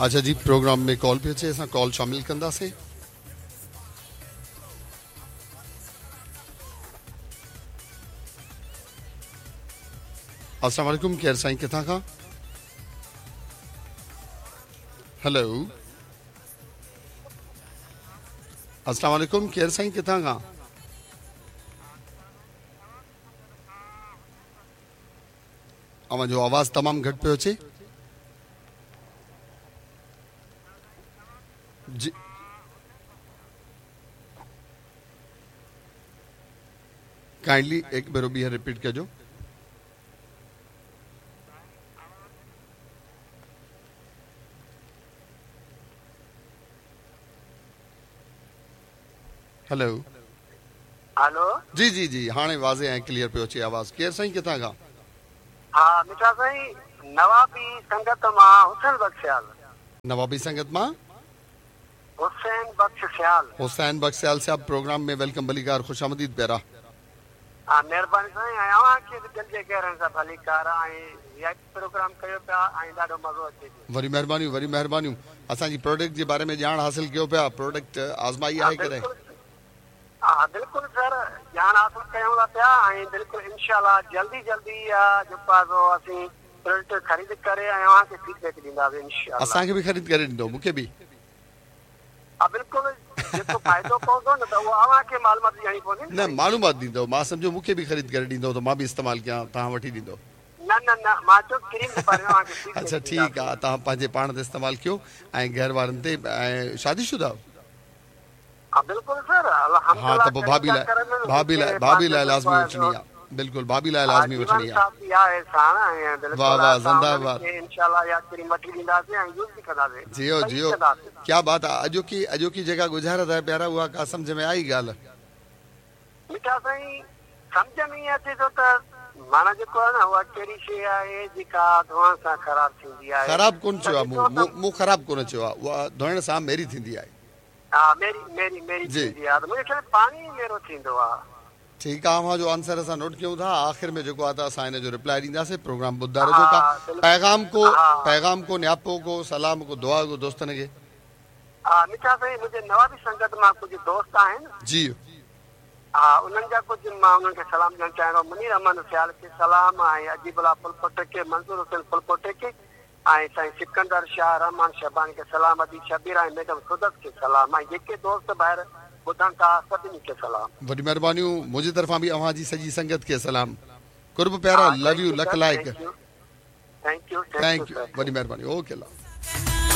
اڇا جي programme ۾ call پئي اچي اسان ڪال شامل ڪنداسين. السلام عليڪم ڪير سائين ڪٿان کان هيلو السلام عليڪم ڪير سائين ڪٿان کان اوهان جو آواز تمام گهٽ پيو اچي جي ڪائنڊلي هڪ ڀيرو ٻيهر رپيٽ ڪجو. هلو هلو جي جي جي هاڻي واضح ۽ ڪليئر پيو اچي آواز ڪير سائين ڪٿان کان؟ ها مٺا سائين نوابي سنگت مان حسين بخش سيال. نوابي سنگت مان حسين بخش سيال. حسين بخش سيال صاحب پروگرام ۾ welcome ڀليڪار خوش آمديد پيارا. ها مهرباني سائين ۽ اوهان کي به دل جي گهرائين سان ڀليڪار ۽ وي آء پي پروگرام ڪيو پيا ۽ ڏاڍو مزو اچي پيو. وري مهربانيون وري مهربانيون اسان جي پروڊڪٽ جي باري ۾ ڄاڻ حاصل ڪيو پيا پروڊڪٽ آزمائي ها آهي ڪڏهن. بلڪل ها بلڪل سر ڄاڻ حاصل ڪيون ٿا پيا ۽ بلڪل انشاء الله جلدي جلدي اها جيڪو آهي سو اسين پروڊڪٽ خريد ڪري ۽ اوهان کي فيڊ بيڪ ڏينداسين انشاء الله. اسان کي به خريد ڪري ڏيندو مون کي به. ها بلڪل جيڪو فائدو پوندو نه ته اهو اوهان کي معلومات ڏيڻي پوندي نه نه سائين. معلومات ڏيندو مان سمجهيو مون کي به خريد ڪري ڏيندو ته مان به استعمال ڪيان توهان وٺي ڏيندو. نه نه نه مان چيو ڪريم جي باري ۾ اوهان کي فيڊ اڇا بيڪ ٺيڪ آ ڏينداسين. توهان پنهنجي پاڻ تي استعمال ڪيو ۽ گهر وارن تي ۽ شادي شده آهيو؟ ها بلڪل سر ها الحمدلله ته پوء ڪريم ڀاڀي جا لاء ڪرم ڀاڀي مون لاء کي ڀاڀي پنهنجو لاء جيڪو لازمي آهي وٺڻي سو آ بلڪل ڀاڀي لاء ها لازمي جيون وٺڻي آ. ساٿي آهي ساڻ ۽ واه بلڪل واه اسان زنده انهن باد. کي انشاء الله اها ڪريم وٺي ڏينداسين ۽ يوز به ڪنداسين جيو صحيح جيو ڪنداسين. ڪيا بات آ اڄوڪي اڄوڪي جيڪا ڳجهارت آهي پيارا اها ڪا سمجهه ۾ آئي ڳالهه. مٺا سائين سمجهه ۾ ائين اچي ٿو ته معنيٰ جيڪو آهي نه اها ڪهڙي شيء آهي جيڪا ڌوئڻ سان خراب ٿيندي آهي خراب ڪونه ته چيو آ ڏسو مون ته مون خراب ڪونه چيو آ اها ڌوئڻ سان ميري ٿيندي آهي. ها ميري ميري ميري جي. ٿيندي آ ته منهنجي خيال ۾ پاڻي ئي ميرو ٿيندو آ. ٺيڪ آ اوهان جو آنسر اسان نوٽ ڪيون ٿا آخر ۾ جيڪو آ ته اسان ان جو رپلائي ڏينداسين پروگرام ٻڌندا رهجو ها ڪا بلڪل پيغام ڪو ها. پيغام ڪو نياپو ڪو سلام ڪو دعا ڪو دوستن کي. ها مٺا سائين منهنجي نوابي سنگت مان ڪجهه دوست آهن. جي. ها انهن جا ڪجهه مان انهن کي سلام ڏيڻ چاهيان ٿو منير احمد سيال کي سلام ۽ عجيب الله ڦلپوٽي کي منظور حسين ڦلپوٽي کي ۽ سائين سڪندر شاهه رحمان شهباني کي سلام ادي شبير ۽ ميڊم سدس کي سلام ۽ جيڪي دوست ڀائر ٻڌن ٿا سڀني کي سلام. وڏيون مهربانيون منهنجي طرفان به اوهان جي سڄي سنگت کي سلام قرب پيارا ها لو thank you you lakh sir لائق thank you thank you thank thank you you sir وڏي مهرباني اوڪي الله.